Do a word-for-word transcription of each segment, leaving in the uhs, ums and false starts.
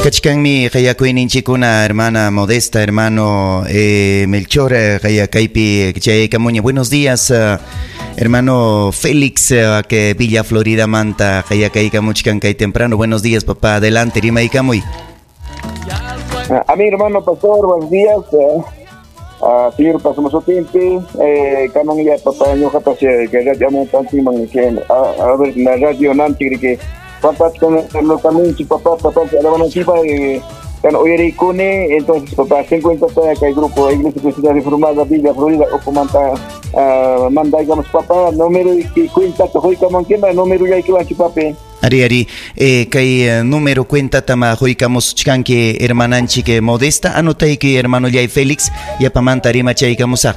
Kachkanmi qayakuyninchikuna hermana Modesta, hermano eh, Melchor, qayakaypi chayaykamuña. Buenos días, uh, hermano Félix, uh, que Villa Florida manta qayakaykamuchkan kay temprano. Buenos días, papá. Adelante, rimaykamuy. A mi hermano pastor, buenos días. Eh, uh, señor pastor Mosotimpi, eh, kanan ya papá ñuqapas que radio amuntanchikman que a ver la radio nanchik que papá con los caminos papá papá alabananchikpa kan uyarikuni. Entonces papá se encuentra acá el grupo Iglesia Cristiana Reformada Villa Florida okumanta uh, mandaykamos papá número y cuenta huykamankiman número yaykiwanchik papi. Ari ari eh, kay número cuenta tama huykamuschkanki hermananchik Modesta, anotayki hermano Yay Félix, yapamanta rimachaykamusaq.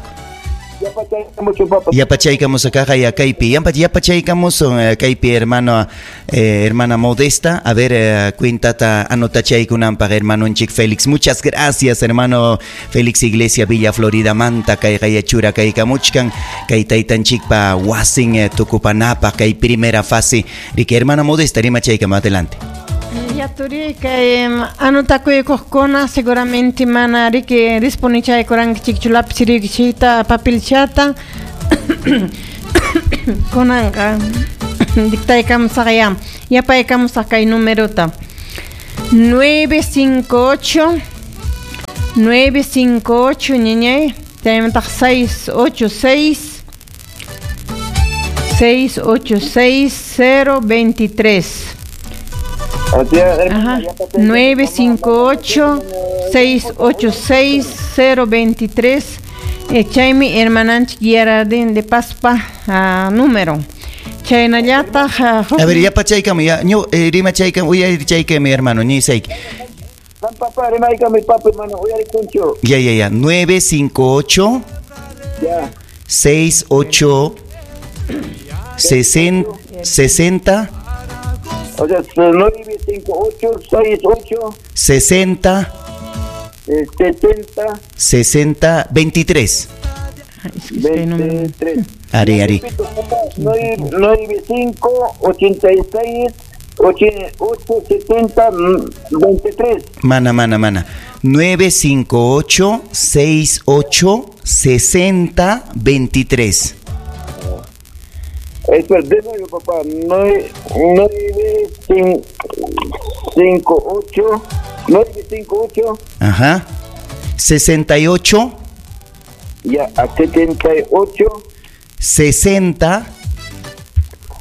Yapachaykamus akaqa ya kaypi, yapachaykamus kaypi hermano eh, hermana Modesta, a ver eh, cuentata anotachaykunanpaq hermanonchik Félix. Muchas gracias hermano Félix Iglesia Villa Florida manta kay qayachura kaykamuchkan kay taytanchikpa wasin eh, tukupanapaq kay primera fase. Riki hermana Modesta rimachaykama, adelante. Ya turi kay anotakuykuqkuna seguramente mana riki disponichaykurankichikchu lapicirikichikta papelchata kunanqa dictaykamusaqya yapaykamusaq kay numerota nueve cinco ocho nueve cinco ocho ñañay chaymantaq seis ocho seis seis ocho seis cero veintitrés. Ajá. nueve cinco ocho seis ocho seis cero veintitrés. Chaymi hermananchik Geraldine de Paspa uh, número. Chaynallataq uh, a ver, ya pachaykami ya ño eh, rimachaykami uyarichaykami hermano nisayki. Papá rimaykami papi hermano uyarikunchu. Ya ya ya nueve cinco ocho ya seis ocho sesenta. O sea, nueve cinco ocho seis ocho sesenta setenta sesenta veintitrés. veintitrés. Ari, ari. nueve cinco ochenta y seis ocho setenta veintitrés. Mana, mana, mana. nueve cinco ocho seis ocho sesenta veintitrés. Espera, de nuevo, papá. nueve cinco ocho nueve cinco ocho. Ajá. sesenta y ocho. Ya, a setenta y ocho. sesenta.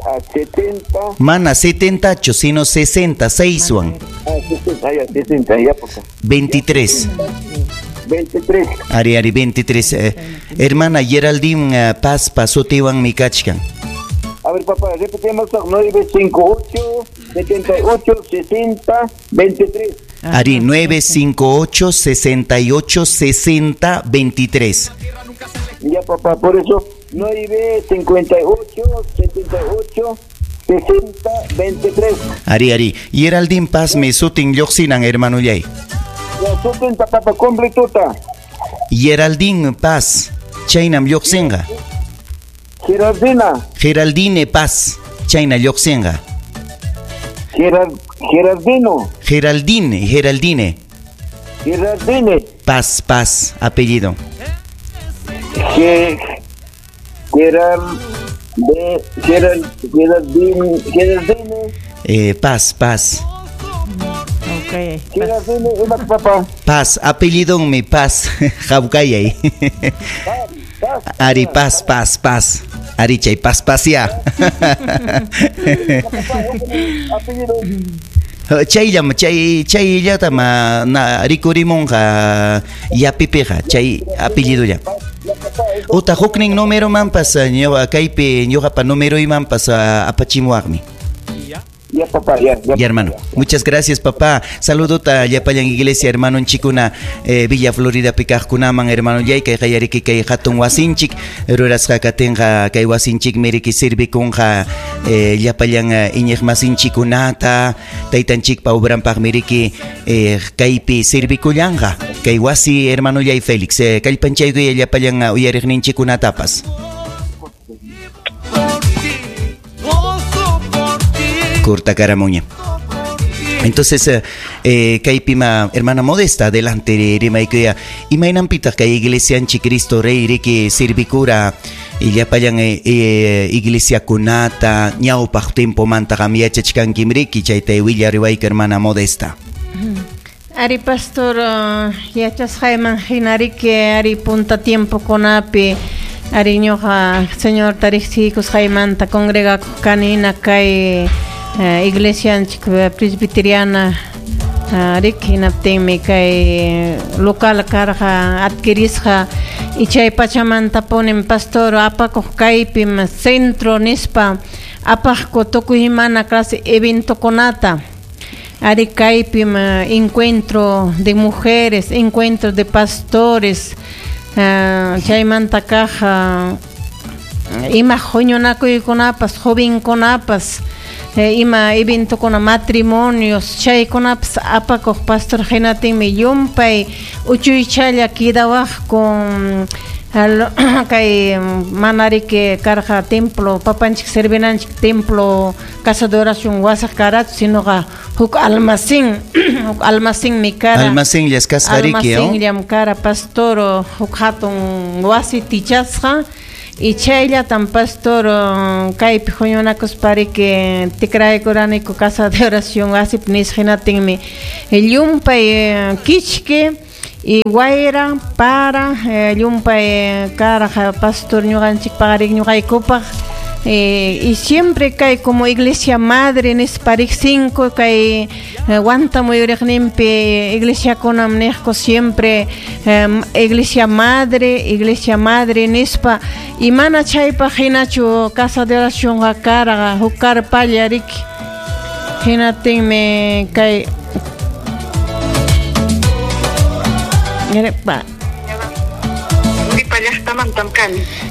A setenta. Mana, setenta y ocho, sino sesenta, seis, Juan. Ah, sesenta, ya, sesenta, ya, papá. veintitrés. veintitrés. Ari, ari, veintitrés. Eh, hermana Geraldine uh, Paz Pasotiwan Mikachkan. A ver, papá, repetimos, nueve cinco ocho setenta y ocho sesenta veintitrés. Ari, nueve cinco ocho sesenta y ocho sesenta veintitrés. Ya, papá, por eso, nueve cincuenta y ocho setenta y ocho sesenta veintitrés. Ari, ari, Geraldine Paz me sutin lluqsinan, hermano Yay. Ya, sutin, papá, completuta. Geraldine Paz, chaynam lluqsinqa. Geraldina. Geraldine Paz, chayna lluqsinqa. Gerard, Gerardino. Geraldine, Geraldine. Geraldine. Paz, Paz, apellido. Ge, Gerard, de, Gerald, Geraldine, Geraldine. Eh, Paz, Paz. Okay. Geraldine, papá. Paz, apellido mi Paz, Jaucayay. Ari, Paz, Paz, Paz. Ari, chay, Paz, Paz, ya. Chayllam, chay, chayllata ma na rikurimunqa yapipiqa, chay apellidolla. Uta huknin número manpas ñuqa kaypi ñuqapa numeroymanpas apachimuwaqmi. Ya, papá, ya, ya. Ya, hermano. Muchas gracias, papá. Saludota llapallan iglesia, hermano chikuna, eh, Villa Florida pikaqkunaman, hermano yay, kay qayariki kay hatun wasinchik, rurasqa katinqa kay wasinchik miriki sirvikunqa, eh, llapallan iñiqmasinchikunata, taytanchikpa obranpaq miriki eh, kaypi sirvikullanqa. Kay wasi, hermano yay Félix, eh, kallpanchaykuy llapallan uyariqninchikunatapas. Corta caramuña. Entonces, eh, kaypima hermana Modesta, adelante rimaykuya. Imaynanpitaq kay iglesianchik Cristo Rey riki sirvikura y llapallan eh, eh, iglesiakunata ñawpaq tiempomanta qam yachachkankim riki chayta willariwayku hermana Modesta. Ari pastor, uh, yachasqayman hina riki ari punta tiempokunapi ari ñuqa Señor tariqsikusqaymanta congregakuq kanina kay Uh, iglesianchik presbiteriana uh, riki hinaptinmi kay local karqa adquirisqa y chay pachamantapunim pastor apakuq kaypim centro nispa apaqku tukuy imana clase eventokunata ari kaypim uh, encuentro de mujeres, encuentro de pastores, uh, chaymanta kaq uh, ima huñunakuykunapas jovenkunapas Eh, ima eventokuna matrimonios chaykunapas apakuq pastor hinatinmi llumpay uchuychalla quedawaqku kay manariki karqa templo papanchik servinanchik templo casa de oración wasaq karachu sinoqa huk almacén huk almacenmi kara almacenllas kasqa riki almacenllam kara pastor huk hatun wasi tichasqa y chayllatam pastor kaypi huñunakuspariki tikraykuraniku casa de oración wasip nisqa hinatinmi llumpay kichki y wayra para llumpay karqa pastor ñuqanchikpaq ñuqaykupaq eh, y siempre kay como iglesia madre nispa riqsinku kay Huanta muyuriqninpi iglesiakunam niqku siempre eh, iglesia madre, iglesia madre nispa y mana chaypaq hinachu casa de oracionqa karqa huk karpalla riki hinatinmi kay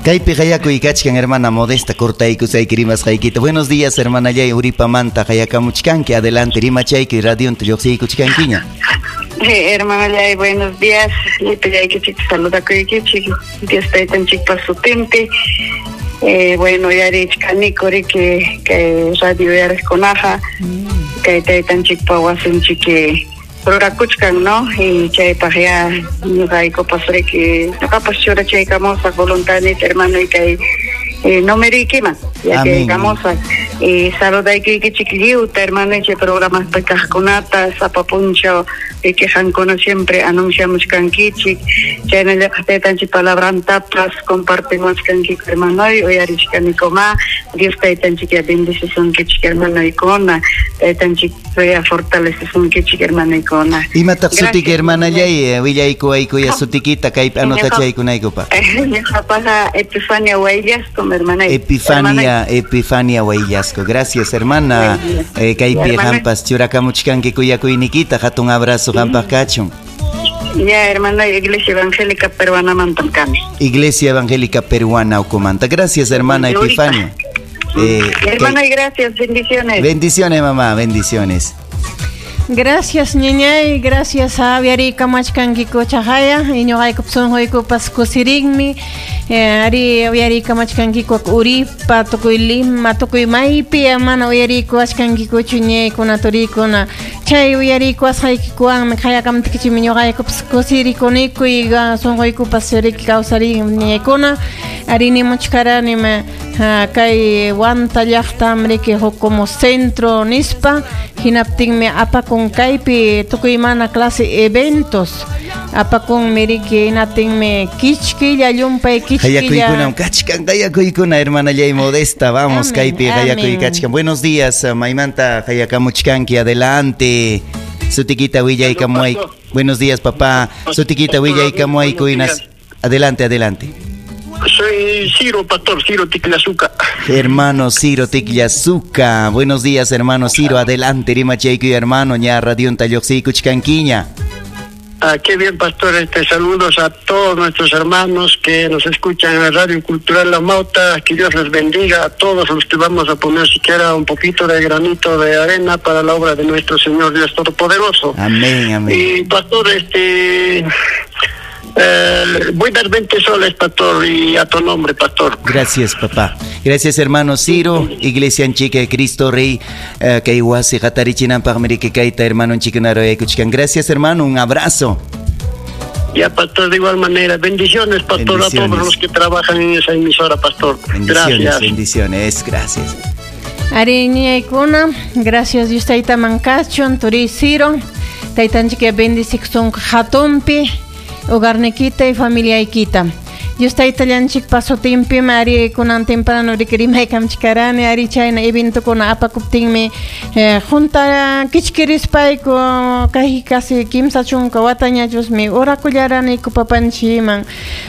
Kaypi qayakuy kachkan hermana Modesta cortaykusayki rimasqaykita. Buenos días hermana Yay Uripamanta qayakamuchkanki adelante rimachayki radionta lluqsiykuchkankiña. Hey, hermana Yay, buenos días. Lipillaykichik saludakuykichik. Dios taytanchikpa sutinpi. Eh, bueno, yarichkaniku riki kay radio yariqkunaqa kay taytanchikpa wasinchiki rurakuchkan, ¿no? Y chaypaq ya ñuqaykupas riki ñuqapas churachaykamusaq voluntadniyta hermano y kay eh, numerikiman yachaykamusaq y saludaykiykichik lliwta hermano chay programaspi kaqkunata sapa punchaw riki qankuna siempre anunciamuchkankichik chaynallataq taytanchik palabrantapas compartimuchkankiku hermanoy uyarichkanikuma Dios taytanchik ya bendecisunkichik hermanoykuna taytanchik ya fortalecesunkichik hermanoykuna. Imataq sutiki hermanallay willaykuwaykuya sutikita kaypi anotachaykunaykupaq. Ñuqapaqa Epifania Huayllasco hermanay. Epifania Epifania Huayllasco. Gracias hermana. Eh, kaypi qampas churakamuchkanki kuyakuynikita hatun abrazo qampaq kachun. Ya, hermana, Iglesia Evangélica Peruana mantam kani. Iglesia Evangélica Peruana ukumanta. Gracias, hermana Epifania. Eh, hermana, que... gracias, bendiciones. Bendiciones, mamá, bendiciones. Gracias, ñañay, gracias a uyarikamachkankiku chahaya, ñuqaykup sunquykupas kusirinmi, ari uyarikamachkankiku Uripa, tukuy Lima, tukuy maypi, mana uyarikuwachkankikuchu ñaykuna turikuna, chay uyarikuwasqaykikuwanmi qayakamtikichikmi ñuqaykupas kusirikuniku y sunquykupas riki kawsarin ñaykuna, ari nimuchkaranima kay Huanta llaqtam riki huk como centro nispa, hinaptinmi apakun kaypi tukuy mana clase eventos apakunmi riki hinatinmi kichkilla llumpay kichkilla qayakuykunam kachkan qayakuykuna hermana Yay Modesta vamos kaypi qayakuy kachkan. Buenos días maymanta qayakamuchkanki adelante sutikita willaykamuay. Buenos días papá sutikita willaykamuayku inas adelante adelante. Soy Ciro, pastor Ciro Ticlazuca. Hermano Ciro Ticlazuca. Buenos días, hermano Ciro. Adelante, rimachaykuy, hermano. Ña radionta lluqsiykuchkankiña. Ah, qué bien, pastor. Este, saludos a todos nuestros hermanos que nos escuchan en la Radio Cultural La Mauta. Que Dios les bendiga a todos los que vamos a poner siquiera un poquito de granito de arena para la obra de nuestro Señor Dios Todopoderoso. Amén, amén. Y, pastor, este... Eh, voy a dar veinte soles, pastor, y a tu nombre, pastor. Gracias, papá. Gracias, hermano Ciro. Iglesia Anchica de Cristo Rey, eh, kay wasi hatarichinanpaq miriki kayta hermano Nchikunaro. Gracias, hermano. Un abrazo. Ya, pastor, de igual manera. Bendiciones, pastor, bendiciones a todos los que trabajan en esa emisora, pastor. Bendiciones, gracias. Bendiciones, gracias. Ari ñaykuna, gracias Dios tayta mankachun, turi Ciro. Taytanchik bendiciksun hatunpi, hogarnikita y familiaykita. Dios taytallanchik pasotinpi ari kunan temprano rikrimaykamchikarani ari chayna eventukuna apakuptinmi eh, junta kichkirispayku kay casi kimsa chunka watañachusmi orakullaraniku papanchikman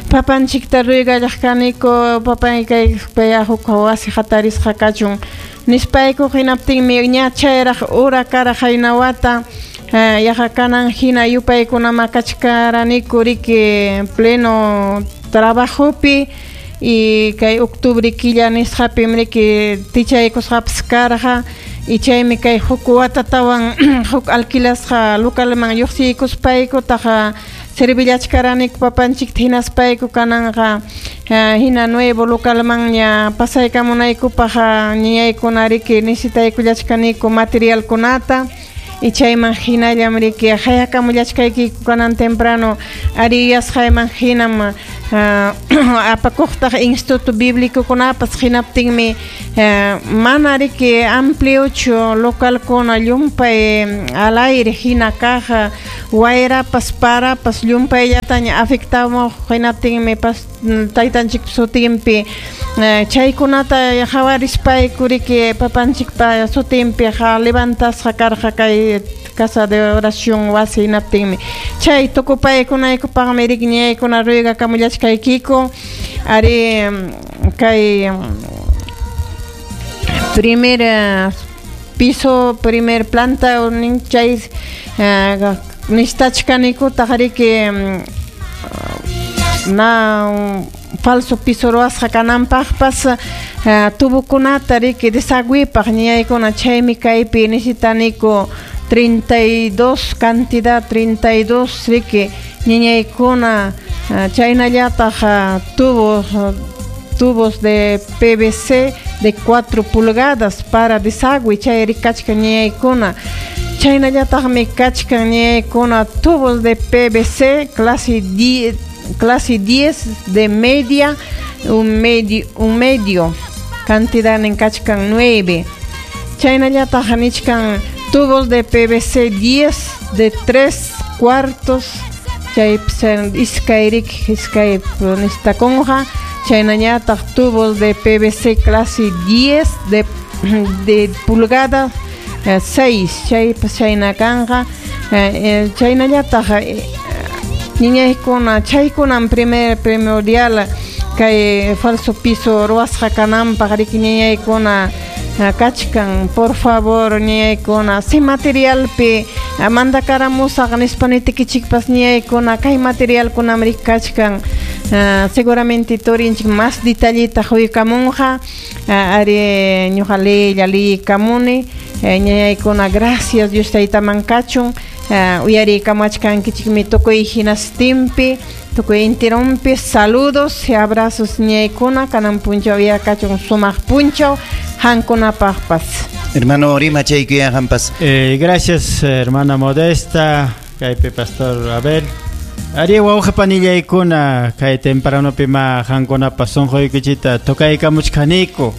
papanchikta ruygallaqkaniku papay kay huk wasi hatarisqa kachun nispayku hinaptinmi ña chayraq ura karaq haynawata eh, yaqa kanan hina yupaykunama kachkaraniku riki pleno trabajopi y kay octubre killa nisqapim riki tichaykusqapas karqa y chaymi kay huk watatawan huk alquilasqa localman lluqsiykuspayku taqa servillachkaraniku papanchikta hinaspayku kananqa hina nuevo localmanña pasaykamunaykupaq ñayaykuna riki necesitaykullachkaniku materialkunata y chayman hinallam riki hayakamullachkaykiku kanan temprano ari yasqayman hinam apakuqtaq instituto bíblicokunapas hinaptinmi mana riki ampliochu localkuna llumpay al aire hina kaq wayrapas parapas llumpayllataña afectamuq hinaptinmi pas taytanchikpa sutinpi chaykunata hawarispayku riki papanchikpa sutinpi levantasqa karqa kay casa de oración wasi hinaptinmi chay tukupaykunaykupaqmi riki ñaykuna ruygakamullachkaykiku ari kay primer piso primer planta chay nistachkanikutaq riki na falso piso ruwasqa kananpaqpas tubukunata riki desagüipaq ñaykuna chaymi kaypi necesitaniku treinta y dos cantidad treinta y dos riki ñañaykuna chaynallataq tubos tubos de P V C de cuatro pulgadas para desagüe chay rikachkan ñañaykuna chaynallataqmi kachkan ñañaykuna tubos de P V C clase diez clase diez de media un medio un medio cantidad en kachkan nueve chaynallataq nichkan tubos de P V C diez de tres cuartos chay iskay riki iskay nistakunqa chaynallataq tubos de P V C clase diez de de pulgada seis chaypas chayna kanqa chaynallataq ñañaykuna chaykunan primer primordial kay falso piso ruwasqa kananpaq riki ñañaykuna kachkan por favor ñañaykuna si materialpi mandakaramusaq nispa nitikichikpas ñañaykuna kay materialkunam riki kachkan seguramente turinchik más detallita huykamunqa ari ñuqa leylla liykamuni ñañaykuna gracias Dios taytaman kachun uyarikamachkankichikmi tukuy hinastinpi tukuy intirumpi saludos y abrazos ñañaykuna kanan punchaw yakachun sumaq punchaw hankunapaqpas. Hermano Rima chaykuyanqanpas. Eh, gracias hermana Modesta, kaypi pastor Abel. Ari wawqi panillaykuna kay tempranopi ma hankunapas sunquykichita tocaykamuchkaniku.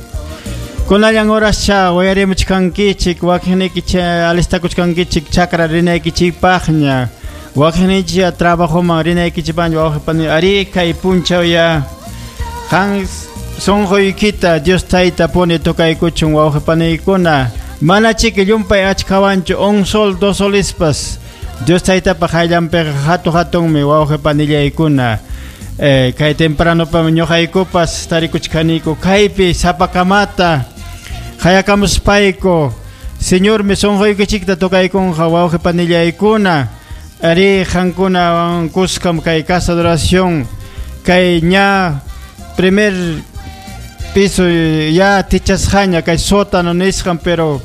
Kunallan horascha uyarimuchkankichik wakinnikicha alistakuchkankichik chakra rinaykichikpaqña wakinnikicha trabajoman rinaykichikpaqña wawqi pani ari kay punchaw ya qan sunquykita Dios tayta puni tocaykuchun wawqi paniykuna mana chiki llumpay achkawanchu un sol dos solispas Dios taytapaq hayllanpiqa hatu hatunmi wawqi panillaykuna eh, kay tempranopami ñuqaykupas tarikuchkaniku kaypi sapakamata hayakamuspayku Señormi sunquykichikta tocaykunqa wawqi panillaykuna ari qankuna kuskam kay casa de oración kay ña primer piso ya tichasqaña kay sótano nisqan pero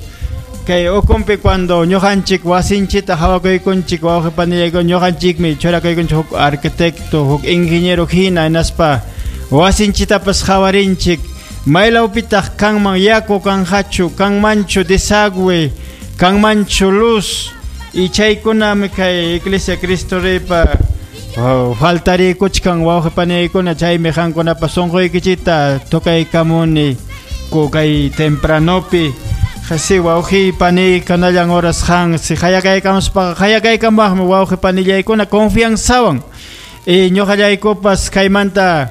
Kay ukumpi cuando ñuqanchik wasinchita hawakuykunchik wawqi panillaykuna ñuqanchikmi churakuykunchik huk arquitecto huk ingeniero hina hinaspa wasinchitapas hawarinchik maylawpitaq kanman yaku kanqachu kanmanchu desagüe kanmanchu luz y chaykunami kay Iglesia Cristo Reypa oh, faltarikuchkan wawqi panillaykuna chaymi qankunapa sunquykichikta tukaykamuni ku kay tempranopi Kasi wawqi pani kanallan oras han si hayakaykamuspaqa hayakaykamaqmi wawqi panillaykuna confianzawan y ñuqallaykupas kaymanta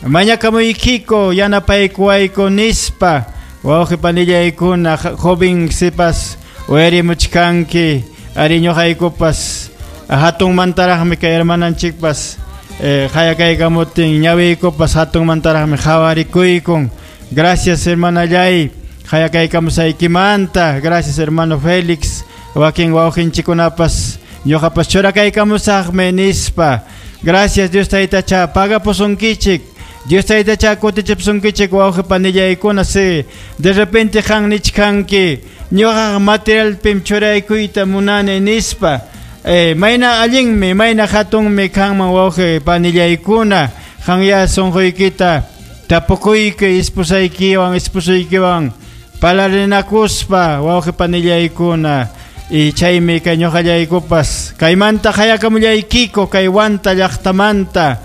mañakamuykiko yanapaykuwayku nispa wawqi panillaykuna joven sipas uyarimuchkanki ari ñuqaykupas hatunmantaraqmi kay hermananchikpas eh, hayakaykamutin ñawiykupas hatunmantaraqmi hawarikuykun. Gracias hermanallay hayakaykamusaykimanta. Gracias hermano Félix wakin wawqinchikunapas ñuqapas churakaykamusaqmi nispa. Gracias Dios taytacha pagapusunkichik Dios taytacha kutichipusunkichik wawqi panillaykuna si de repente qan nichkanki ñuqaqa materialpim churaykuyta munani nispa eh, mayna allinmi mayna hatunmi kanman wawqi panillaykuna qanya sunquykita tapukuyki esposaykiwan esposuykiwan palarinakuspa wawqi panillaykuna y chaymi kay ñuqallaykupas kaymanta hayakamullaykiko kay Huanta llaqtamanta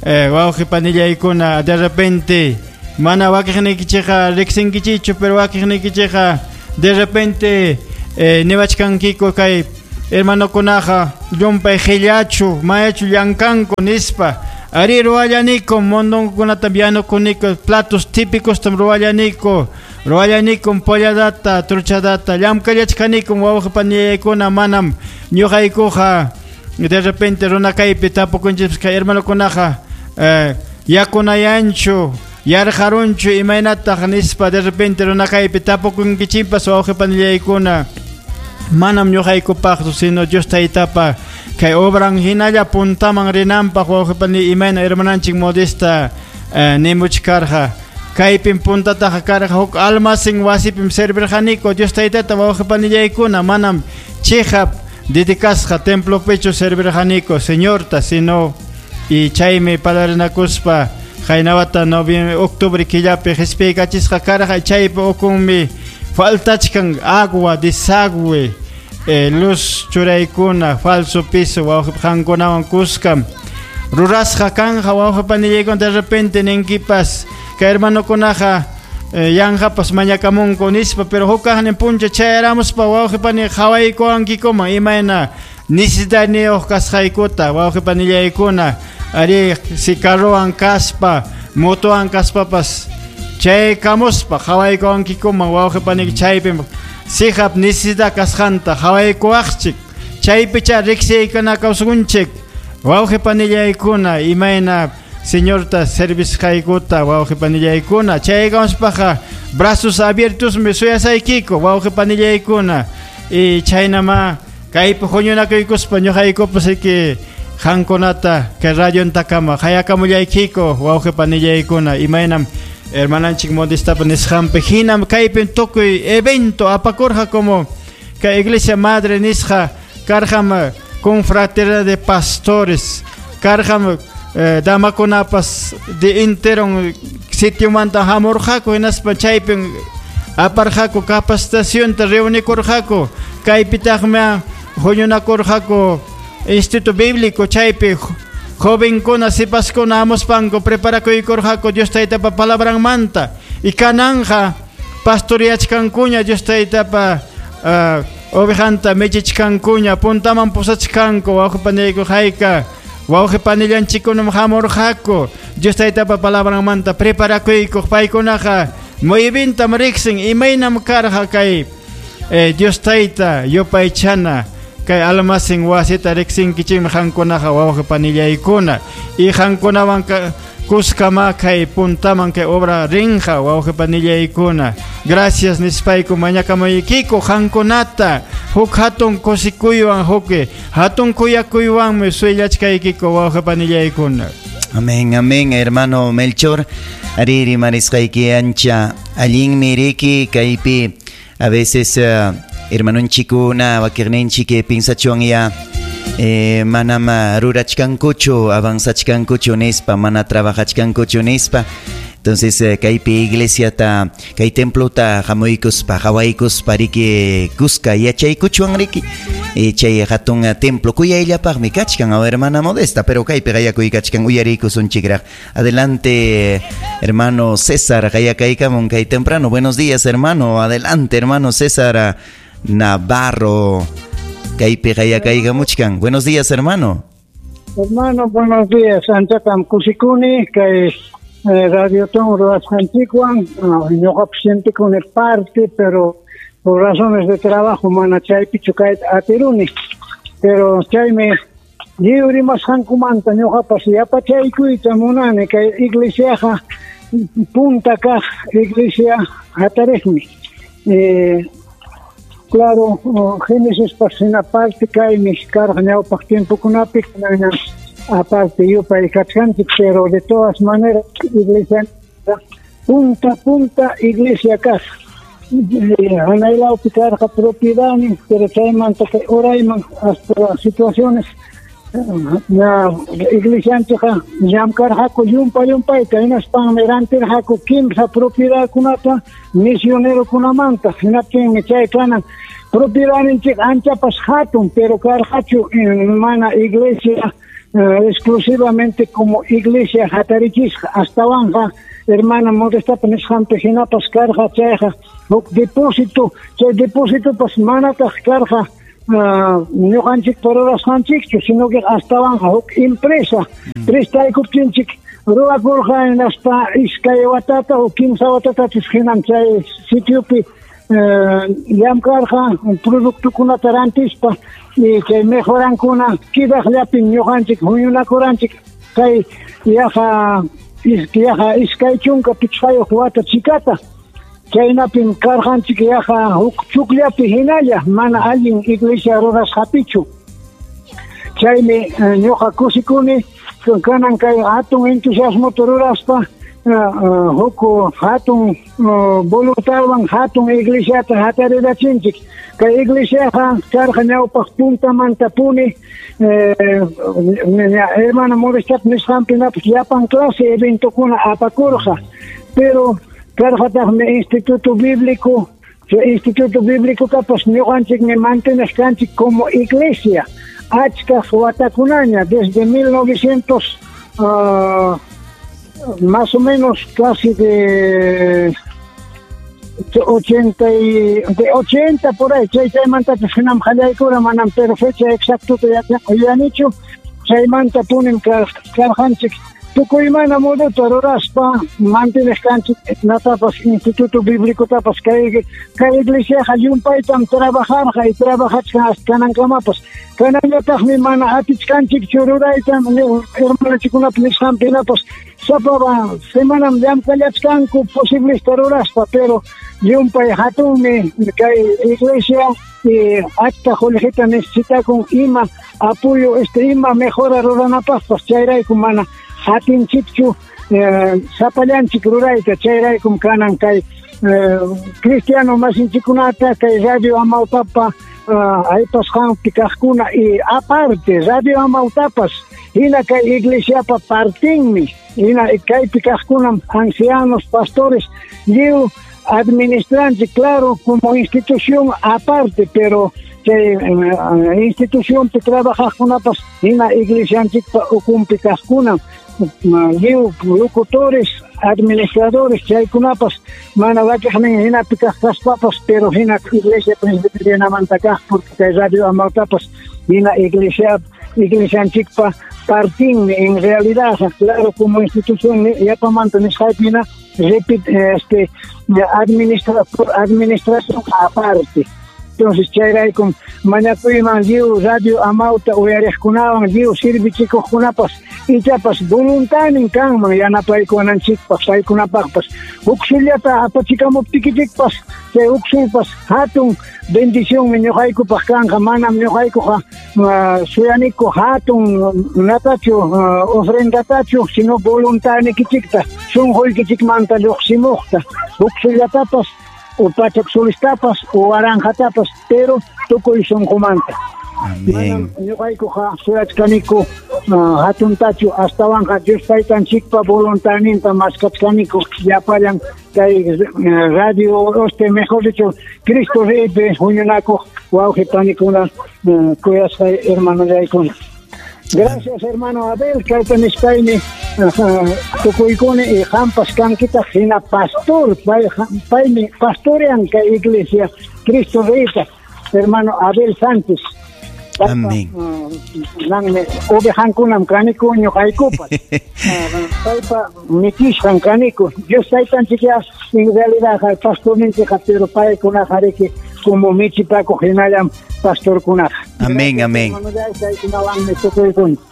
eh, wawqi panillaykuna de repente mana wakiqniykichikqa riqsinkichikchu pero wakiqniykichikqa de repente eh, niwachkankiko kay hermanokunaqa llumpay qillachu mayachu llankanku nispa ari ruwallaniko mondonkunatam yanukuniko platos típicos tam ruwallaniko ruwallanikum polladata truchadata llamkallachkanikum wawqi panillaykuna manam ñuqaykuqa de repente runakaypi tapukunchikpas kay hermanokunaqa eh, yakunayanchu yarqarunchu imaynataq nispa de repente runakaypi tapukunkichikpas wawqi panillaykuna manam ñuqaykupaqchu sino Dios taytapa kay obran hinalla puntaman rinanpaq wawqi pani imayna hermananchik Modesta eh, nimuchkarqa kaypim puntataqa karqa huk almacén wasipim servirqaniko Dios taytata wawqi panillaykuna manam chiqap dedicasqa templopichu servirqaniko Señorta sino y chaymi palarinakuspa qaynawata noviembre octubre killapi qispiykachisqa karqa chaypi ukunmi faltachkan agua desagüe eh, luz churaykuna falso piso wawqi qankunawan kuskam rurasqa kanja wawqi panillaykuna de repente ninkipas kay hermanokunaqa eh, yanqapas mañakamunku nispa pero hukaqnin puncha chayaramuspa wawqi pani qhawaykuwankikuman imayna necesidadniyuq kasqaykuta wawqi panillaykuna ari si carrowan kaspa motowan kaspapas chaykamuspa qhawaykuwankikuman wawqi pani chaypim sihap necesidad kasqanta qhawaykuwaqchik chaypicha riqsiykuna kawsakunchik wawqi panillaykuna imayna Señorta servisqaykuta wawqi panillaykuna chaykamuspaqa brazos abiertos mi suyasaykiko wawqi panillaykuna y chaynama kaypi huñunakuykuspa ñuqaykupas riki qankunata kay radiontakama hayakamullaykiko wawqi panillaykuna imaynam hermananchik Modestapa nisqanpi hinam kaypim tukuy evento apakurqa como kay iglesia madre nisqa karqam confraternidad de pastores karqam eh, damakunapas de interon sitiomanta hamurqaku hinaspa chaypin aparqaku capacitacionta reunikurqaku kaypitaqmi huñunakurqaku instituto bíblico chaypi jovenkuna sipaskuna amuspanku preparakuykurqaku Dios taytapa palabranmanta y kananja pastoriachkankuña Dios taytapa uh, ovejanta michichkankuña puntaman pusachkanku wawqi panillayku hayka wawqi panillanchikkunam hamurqaku Dios taytapa palabranmanta preparakuykuq paykunaqa muy bientam riqsin imaynam karqa kay eh, Dios tayta yupaychana kay almacén wasita riqsinkichikmi qankunaqa wawqi panillaykuna y qankunawan kuskama kay puntaman kay obra rinqa wawqi panillaykuna. Gracias nispayku mañakamuykiko qankunata huk hatun kusikuywan huk hatun kuyakuywanmi suyllachkaykiko wawqi panillaykuna. Amén, amén, hermano Melchor. Ariri marisqayki ancha allinmi riki kaypi a veces uh, Hermanonchikuna wakiqninchik pinsachuan ya eh, manama rurachkankuchu avanzachkankuchu nispa mana trabajachkankuchu nispa. Entonces eh, kaypi iglesiata kay templota hamuykuspa qhawaykuspa riki kuska yachaykuchuan riki eh, chay hatun templo kuyayllapaqmi kachkan aw hermana Modesta, pero kaypi qayakuykachkan uyariykusunchikraq. Adelante hermano César, qayakaykamun kay temprano. Buenos días hermano, adelante hermano César Navarro, kaypi qayakaykamuchkan. Buenos días hermano. Hermano, buenos días. Anchatam kusikuni kay Radio Ton ruwasqanchikwan, ñuqapas sientikuni parte, pero por razones de trabajo mana chaypichu kayta atiruni. Pero chaymi lliw rimasqankumanta ñuqapas yapachaykuyta munani kay iglesiaqa punta kaq iglesia hatariqmi. Eh, claro, Génesis hina parte kaymi karqa ñawpaq tiempokunapi aparte yupay kachkanchik, pero de todas maneras iglesia punta punta iglesia kaq hanaylawpi karqa propiedadnin, pero chaymanta kay urayman hasta situaciones na iglesianchikqa llamkarqaku llumpa llumpayta hinaspanmi rantirqaku kimsa propiedadkunata misionerokunamanta. Hinaptinmi chay kanan propiedadninchik anchapas hatun, pero karqachu mana iglesia Uh, exclusivamente como iglesia hatarichisqa. Astawanqa hermana Modestapa nisqanpi hinapas karqa chayqa huk depósito, chay depósitopas manataq karqa ñuqanchikpa rurasqanchikchu, sino que astawanqa huk empresa prestaykuptinchik ruwakurqa hinaspa iskay watata o kimsa watatachus hinam chay sitiopi llamkarqa productokunata rantispa y chay mejorankuna kidaqllapin ñuqanchik huñunakuranchik kay yaqa yaqa iskay chunka pichqayuq wata chikata. Chaynapin karqanchik yaqa huk chukllapi hinalla mana allin iglesia rurasqapichu. Chaymi ñuqa kusikuni kanan kay hatun entusiasmota ruraspa huk hatun voluntadwan hatun iglesiata hatarirachinchik. Kay iglesiaqa karqa ñawpaq puntamantapuni hermana Modestap nisqanpinapas llapan clase eventokuna apakurqa, pero karqataqmi Instituto Bíblico, Instituto Bíblicotapas ñuqanchikmi mantenesqanchik como iglesia achka watakunaña desde mil novecientos uh, más o menos casi de ochenta y de ochenta por ahí, chay chaymantapis hinam qallaykura manam pero fecha exactuta yachanichu, chaymanta punim karqanchik tukuymana moduta ruraspa mantenesqanchik natapas Instituto Bíblicotapas kay kay iglesiaqa llumpaytam trabajarqa y trabajachkan hasta kanankamapas. Kanallataqmi mana atichkanchikchu ruraytam hermanochikunapa nisqanpinapas sapa semanam llamkallachkanku posiblesta ruraspa, pero llumpay hatunmi kay iglesia y achka qullqita necesitakun ima apoyo este ima mejora ruranapaqpas, chayrayku mana atinchikchu eh, sapallanchik rurayta. Chayraykum kanan kay eh, cristiano masinchikunata kay Radio Amautapa uh, aypasqanpi kaqkuna y aparte Radio Amautapas hina kay iglesiapa partinmi, hina kaypi kaqkunam ancianos, pastores lliw administranchik, claro, como institución aparte, pero chay eh, institucionpi trabajaqkunapas hina iglesianchikpa ukunpi kaqkunam lliw locutores, administradores, chaykunapas mana wakiqnin hinapi kaq kaspapas, pero hina iglesia presbiterianamanta kaq, porque kay Radio Amautapas hina iglesia iglesianchikpa partinmi en realidad, claro, como institución yapamanta nisqaypina repite este administra administración aparte. Entonces chayraykum mañakuyman lliw Radio Amauta uyariqkunawan lliw servichikuqkunapas ichapas voluntanin kanman yanapaykunanchikpaq paykunapaqpas huk sullata apachikamuptikichikpas chay huk sulpas hatun bendicionmi ñuqaykupaq kanqa. Manam ñuqaykuqa uh, suyaniku hatun natachu uh, ofrendatachu, sino voluntanikichikta sunquykichikmanta lluqsimuqta huk sullatapas o pachak solistapas o waranqatapas, pero tukuy sunqumanta. Amén. Ñuqaykuqa suyachkaniku hatuntachu astawanqa Dios taytanchikpa voluntaninta maskachkaniku llapallan kay radio este mejor dicho Cristo Reypi huñunakuq wawqi panikuna kuyasqay hermanollaykuna. Gracias hermano Abel, kayta nispaymi tukuykuni y qampas kankitaq hina pastor, paymi pastorean kay iglesia Cristo Reyta, hermano Abel Sánchez. Amén. Nanmi ovejankunam kaniku ñuqaykupas. Paypa michisqan kaniku. Dios taytanchikqa en realidad pastorninchikqa, pero paykunaqa riki como michipakuq hinallam pastorkunaqa. Amén, amén.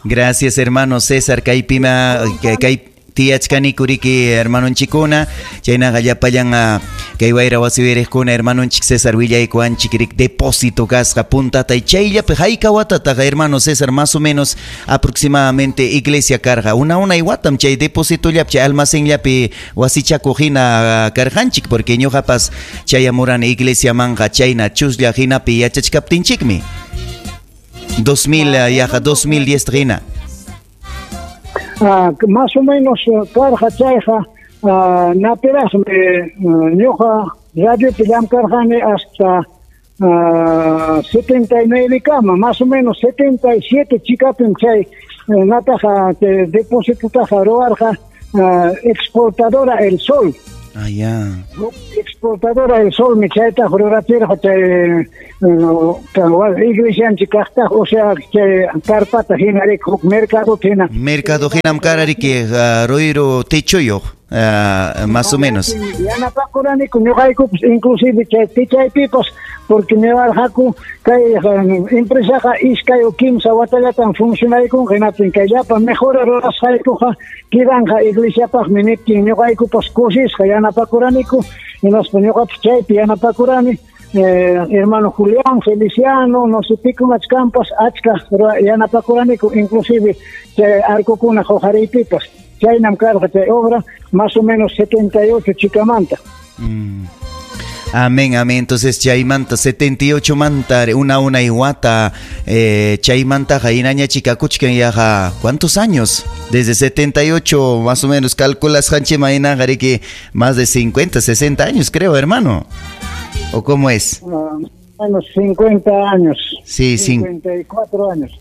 Gracias hermano César, kaypima kay tiyachkanikuriki hermanonchikuna, chaynaqa llapallan kay wayra wasiwiriqkuna hermanonchik César willaykuwanchik rik depósito kasqa puntata y chayllapi hayka watataqa hermano César más o menos aproximadamente iglesia karqa una unay watam chay depósitollapi chay almacenllapi wasichakuq hina karqanchik porque ñuqapas chayamurani iglesiamanqa chayna chuslla hinapi yachachkaptinchikmi dos mil yaqa dos mil diez hina. Ah, más o menos karqa chayqa ah, napiraqmi ñuqa radiopi llamkarqani hasta ah, setenta y nueve kama, más o menos setenta y siete chikapim chay nataqa depósitotaqa ruwarqa ah, exportadora El Sol. Ah, ya. Exportadora El Sol, mi chayta rurachirqa chay iglesianchik kaqtaq, o sea, chay carpata hina rik huk mercado hina. Mercado hinam karariki ruyru techoyuq, más o menos. Yanapakuraniku ñuqaykupas inclusive chay techaypipas porque niwarqaku kay empresaqa iskay o kimsa watallatan funcionaykunqa hinaptin kay llapa mejora rurasqaykuqa kidanqa iglesiapaqmi niptin ñuqaykupas kusisqa yanapakuraniku hinaspa ñuqapas chaypi yanapakurani. Eh, hermano Julián, Feliciano, no sé pikunachkampas achka yanapakuraniku inclusive chay arcokuna huqariypipas chaynam karqa chay obra más o menos setenta y ocho chikamanta. Mm. Amén, amén. Entonces, chaymanta setenta y ocho manta, una una iguata, eh, chaymanta jainaña chikakuchkan yaja, ¿cuántos años? Desde setenta y ocho más o menos, calculas hanchima que más de cincuenta, sesenta años, creo, hermano. ¿O cómo es? Uh, menos cincuenta años. Sí, cincuenta y cuatro años.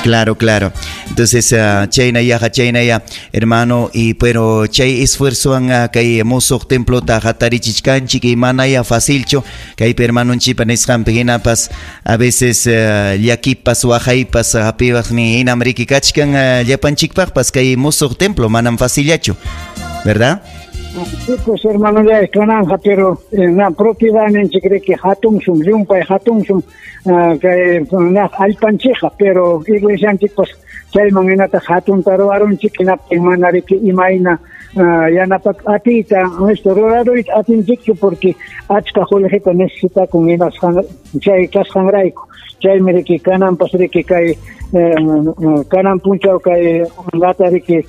Claro, claro. Entonces, uh, chayna yaja, chayna ya, hermano, y pero chay esfuerzo an kay musuq templota hatarichichkanchik y manaya facilcho, kay hermanonchipa nisqanpi hinapas a veces uh, llakipas waqaypas hap'iwaqni hinam riki kachkan uh, llapanchikpaqpas kay musuq templo manam facillachu, ¿verdad? Sí, pues hermano, ya es kananja, pero na propiedadninchik riki hatunsum, llumpay hatunsum, kay na allpanchikqa, pero iglesianchikpas chayman hinataq hatunta ruwarunchik hinaptin mana riki imayna yanapak atiyta esto ruraruyta atinchikchu porque achka qullqita necesitakun hinasqan chay kasqanrayku chaymi riki kananpas riki kay kanan punchaw kay lata riki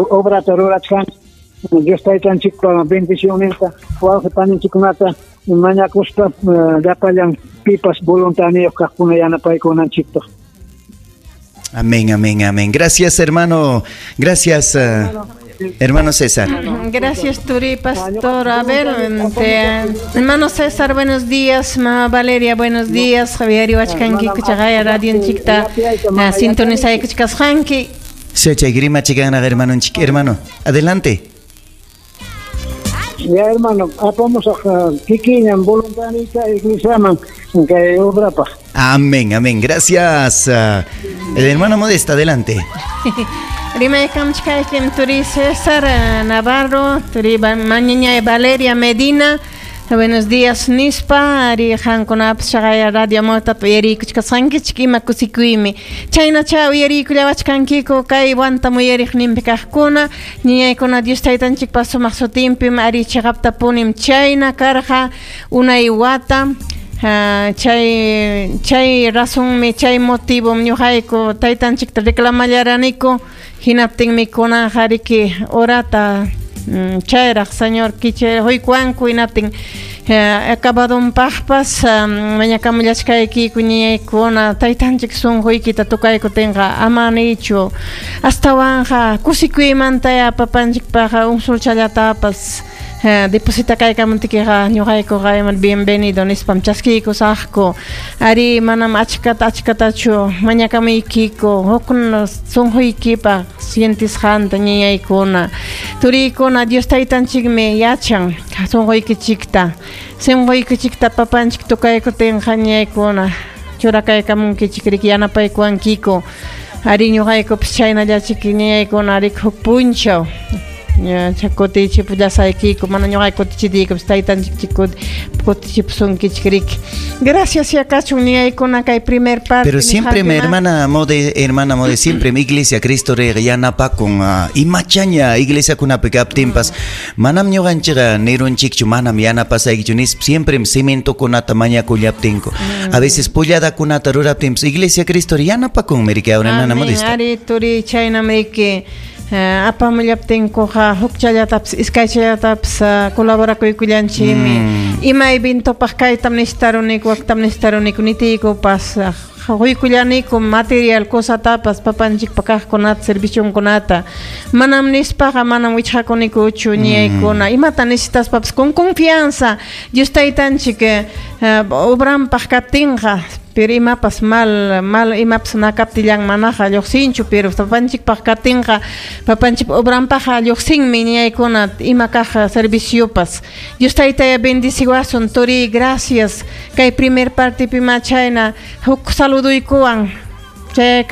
obrata rurachkan Dios taytanchikpa bendicionninta wawqi paninchikkunata mañakuspa llapallan pipas voluntaniyuq kaqkuna yanapaykunanchikpaq. Amén, amén, amén. Gracias, hermano. Gracias, uh, hermano César. Gracias, Turi, pastor. A ver, te, hermano César, buenos días. Mamá Valeria, buenos días. Javier Iwachkanki, Kuchagaya, Radio Chikta, sintonizay Kuchkasjanki. Sí, grima chicana, hermano, hermano, adelante. Ya, hermano, vamos a kikiñan voluntarita iglesiaman que obra pa. Amén, amén. Gracias. Uh, el hermano Modesta, adelante. Rimaykamchkaykim Turi César Navarro, Turi Mañaña Valeria Medina. Buenos días, nispa, ari hankunapas chaqaya radio Amawtata uyariykuchkasqankichik ima kusikuymi. Chaynacha uyariykullawachkankiku kay wanta muyariqninpi kaqkuna, ñiñaykuna Dios taytanchikpa sumaq sutinpim ari chiqaptapunim chayna karqa unay wata. Uh, chay chay razonmi chay motivom ñuqayku taytanchikta reclamallaraniku hinaptinmi kunanqa riki horata Chayraq Señor kicha huykuanku hinaptin acabadonpaqpas mañakamullachkaykiku ñañaykuna taytanchik sunquykita tukaykutinqa ama nichu astawanqa kusikuymantaya papanchikpaqa un sulchallatapas deposita kaykamuntikiqa ñuqaykuqa iman bienvenido nispam chaskiykusaqku ari manam achkata achkatachu mañakamuykiku huk sunquykipaq sientisqanta ñañaykuna turiykuna Dios taytanchikmi yachan sunquykichikta sunquykichikta papanchik tukaykutinqa ñañaykuna churakaykamunkichik riki yanapaykuwankiku ari ñuqaykupas chaynallachik ñañaykuna riki huk punchaw kutichipullasaykiku mana ñuqayku kutichitiykupas taytanchik kutichipusunkichik riki gracias ya kachun ñañaykuna kay primer parte pero siempre mi hermana Mode hermana Mode siempre mi iglesia Cristo Rey yanapakun imachaña iglesia kunapi kaptinpas manam ñuqanchikqa nirunchikchu manam yanapasaykichu nispa siempre cementokunata mañakullaptinku a veces pulladakunata ruraptinpas iglesia Cristo Rey yanapakunmi riki hermana Modesta ari turi chaynamiki apamullaptinkuqa hukchallatapas iskaychallatapas colaborakuykullanchikmi ima eventopaq kaytam necesitaruniku waktam necesitaruniku nitiykupas huykullaniku material cosatapas papanchikpa kaqkunata servicionkunata manam nispaqa manam wichqakunikuchu ñaykuna imata necesitaspapas con confianza Dios taytanchik obranpaq kaptinqa pero imapas mal mal imapas nakaptillan manaqa lluqsinchu pero papanchikpaq kaptinqa papanchikpa obranpaqqa lluqsinmi ñaykuna ima kaq serviciopas Dios taytaya bendiciwasun turi gracias kay primer parte pima chayna huk saluduykuwan chay